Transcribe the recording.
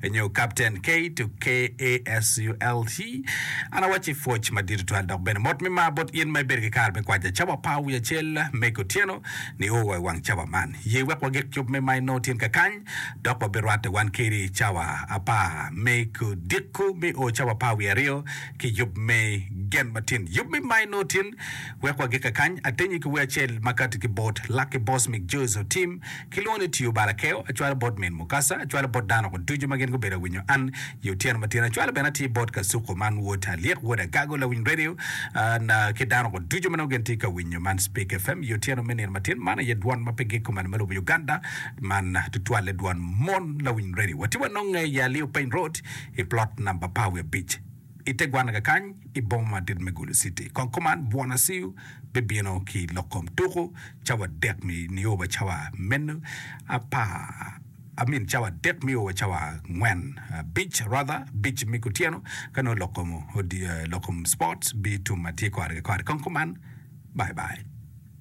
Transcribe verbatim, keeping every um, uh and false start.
Nyo Captain K to K A S U L T. An awacci pwoc madit tutwal dok bene mot me mar bot in ma ibedo ki kare me kwaca cawa apar wiye acel me kutyeno nio wa i wang cawa man. Ye wek wagik yub me ma inongo tyen kakany dok wabirwatte wan kedi cawa apar me kudiko me o cawa apar wiye aryo ki yub me gen matin. Yub me ma inongo tyen wek wagik kakany atenyi ki wer acel ma kati ki bot Lucky Boss Mick Joes Otim Kilwongo ni tiyo bal akeo, acwalo bot min mukasa, acwalo bot dano ko ducu ma gin gubedo awinyo an i otyeno matin, acwalo bene atir bot kasuku man wod Alyek wod Agago lawiny radio na ki dano ko ducu ma nongo gin tye ka winyo man Speak F M i otyeno me nino matin. Man aye dwon ma pe gik kumalo me lobo Uganda, man tutwalle dwon mon lawiny radio. Watye wanonge i Aliu Peny Road i plot namba apar wiye abic i te gwana kakany i boma madit me Gulu City. Kong kuman Bwona Siu bibino ki lok kom tuku cawa adek nio wa cawa meno apar, I mean cawa adek nio wa cawa angwen, abic rather, abic me kutyeno ka nongo lok kom lok kom sports bitum ma tye kore ki kore. Kong kuman, bye bye.